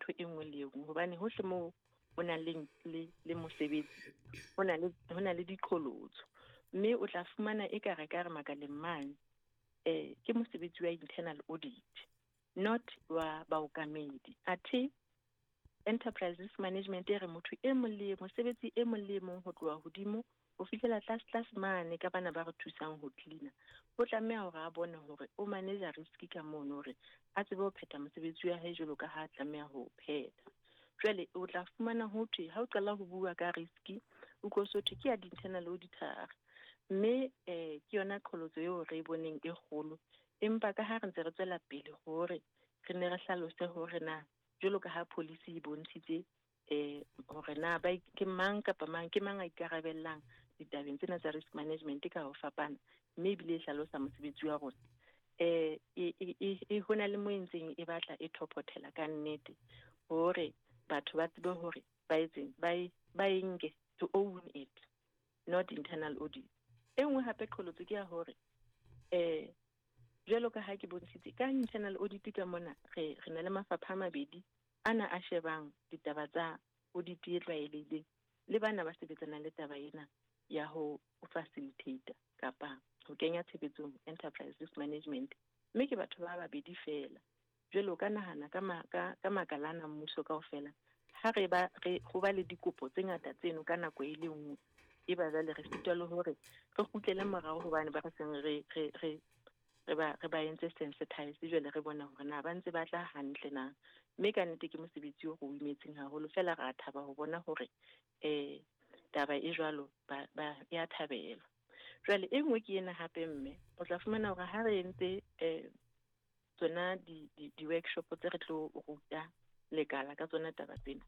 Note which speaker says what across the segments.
Speaker 1: Ntho e nngwe le e nngwe, hobane hohle moo ho nang le mosebetsi, ho na le diqholotso, mme o tla fumana e ka re ka re makaleng mane ke mosebetsi wa internal audit, not wa baokamedi. Athe enterprise risk management e re motho e mong le mosebetsi e mong le e mong, ho tloha hodimo ho fihlela tlase tlase mane ka bana ba re thusang ho cleaner, o tlameha hore a bone hore o manage risk ka mono, hore a tsebe ho phetha mosebetsi wa hae jwalo ka ha a tlameha ho phetha. Jwale o tla fumana ho thwe ha o qala ho bua ka risk, o tlo so thwe ke ya di-internal auditor, mme ke yona qholotso eo re e boneng e kgolo. Empa ka ha re ntse re tswela pele hore re ne re hlalose hore na jwalo ka ha policy e bontshitse hore na ba ke mang kapa mang, ke mang a ikarabellang ditabeng tsena tsa risk management ka ho fapana, mme ebile e hlalosa mosebetsi wa rona, e hona le mo e ntseng e batla e thophothela ka nnete hore batho ba tsebe hore ba etseng, ba e nke to own it, not internal audit. E nngwe hape qholotso ke ya hore jwalo ka ha ke bontshitse ka internal audit ka mona, re na le mafapha a mabedi ana a shebang ditaba tsa audit e tlwaelehileng le bana ba sebetsanang le taba ena ya ho facilitate kapa ho kenya tshebetsong enterprise risk management, mme ke batho ba babedi feela. Jwale o ka nahana ka makala ana mmuso kaofela, ha re ba re ho ba le dikopo tse ngata tseno ka nako e le nngwe, e ba jwale re sitwa le hore re kgutlele morao, hobane ba re seng re ba entse sensitize. Jwale re bona hore na ba ntse ba tla hantle na, mme ka nnete ke mosebetsi o re o imetseng haholo. Feela re a thaba ho bona hore taba e jwalo ba ya thabela. Jwale e nngwe ke ena hape, mme o tla fumana hore ha re entse tsona di-workshop tse re tlo ruta lekala ka tsona taba tsena,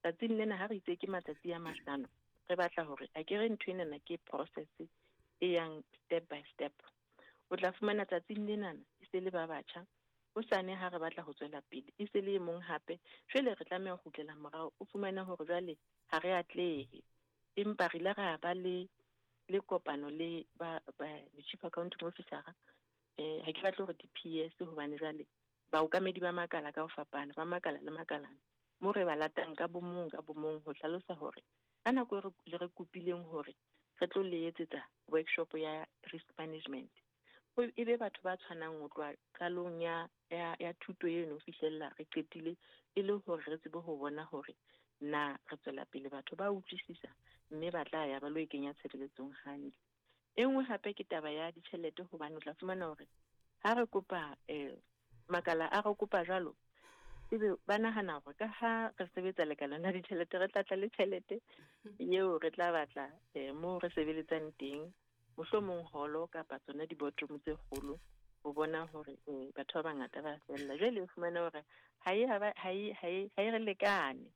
Speaker 1: tsatsing lena ha re itse ke matsatsi a 50, re batla hore a ke re ntho enana ke process e yang step by step. O tla fumana tsatsing lenana e se le ba batjha, hosane ha re batla ho tswela pele e se le e mong hape. Jwale re tlameha ho kgutlela morao, o fumane hore jwale ha re atlehe. Empa re ile ra ba le kopano le ba chief accounting officer, ha ke batle hore di-PS, hobane jwale baokamedi ba makala ka ho fapana, ba makala le makalana, mo re ba latang ka bomong ka bomong ho hlalosa hore ka nako e le re kopileng hore re tlo le etsetsa workshop ya risk management, e be batho ba tshwanang ho tloha qalong ya thuto eno ho fihlella re qetile, e le hore re tsebe ho bona hore na re tswela pele, batho ba utlwisisa, mme ba tla ya ba lo e kenya tshebeletsong hantle. E nngwe hape ke taba ya ditjhelete, hobane o tla fumana hore ha re kopa makala a re kopa jwalo, ebe ba nahana hore ka ha re sebetsa lekaleng la ditjhelete, re tla tla le tjhelete eo, re tla batla moo re sebeletsang teng, mohlomong holo kapa tsona di-boardroom tse kgolo, ho bona hore batho ba bangata ba fella. Jwale o fumane hore ha e re lekane.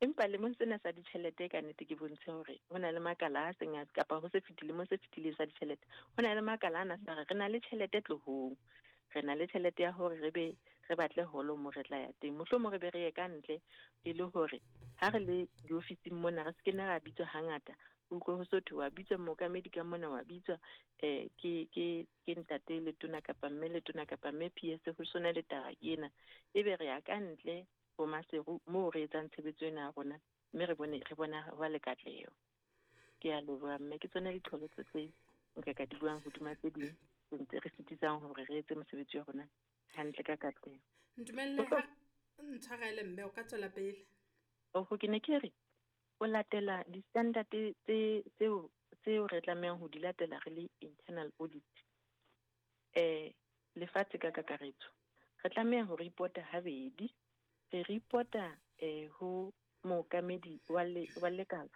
Speaker 1: Empa lemong sena sa ditjhelete, ka nnete ke bontshe hore ho na le makala a seng kapa ho se fetile mo se fetileng sa ditjhelete, ho na le makala ana sa re re na le tjhelete tlohong, re na le tjhelete ya hore re be re batle holo mo re tla ya teng, mohlomong re be re ye ka ntle, e le hore ha re le diofising mona re se ke nna ra bitswa hangata. Utlwe ho so thwe wa bitswa mookamedi ka mona, wa bitswa ke ntate letona kapa mme letona kapa mme PS, ho sona le taba ena, ebe re ya ka ntle ho Maseru moo re etsang tshebetso ena ya rona, mme re bone re bona ho ba le katleho. Ke a leboha, mme ke tsona diqholotso tse nka ka di buang hodima tse ding tse ntse re sitisang hore re etse mosebetsi wa rona hantle ka katleho.
Speaker 2: Ntumelle ha ntshwarele, mme o ka tswela pele.
Speaker 1: Oho, ke ne ke re o latela di-standard tse tseo re tlamehang ho di latela re le internal audit lefatshe ka kakaretso, re tlameha ho reporta habedi. Re reporta ho mookamedi wa lekala,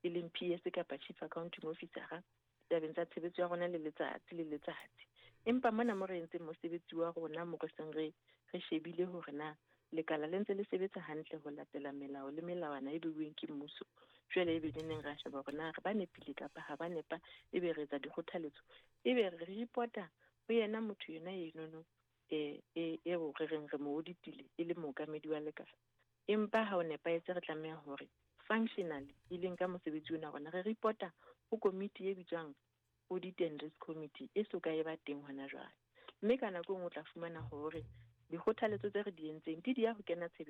Speaker 1: e leng PS kapa chief accounting officer, tabeng tsa tshebetso ya rona le letsatsi le letsatsi. Empa mona mo re entseng mosebetsi wa rona, mo re seng re shebile hore na lekala le ntse le sebetsa hantle ho latela melao le melawana e beuweng ke mmuso, jwale ebe le neng ra sheba hore na re ba nepile kapa ha ba nepa, ebe re etsa dikgothaletso, ebe re reporta ho yena motho yena enono eo re reng re mo auditile e le mookamedi wa lekala. Empa ha o nepahetse, re tlameha hore functionally, e leng ka mosebetsi ona rona, re reporta ho komiti e bitswang Audit and Risk Committee, e so ka e ba teng hona jwale. Mme ka nako e nngwe o tla fumana hore dikgothaletso tse re di entseng di ya ho kena tshebetsong.